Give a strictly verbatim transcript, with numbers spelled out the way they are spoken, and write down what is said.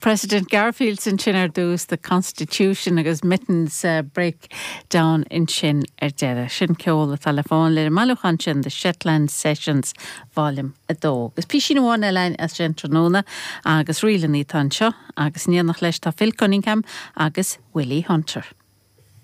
President Garfield ansin ar dtús the Constitution agus Mittens uh, breakdown ansin ar deireadh. Sin ceol atá le fáil ar an mbailiúchán sin the Shetland Sessions Volume a dó. Agus píosa amháin eile as sin tráthnóna agus rílanna tá anseo agus in éineacht leis tá Phil Cunningham agus Willie Hunter.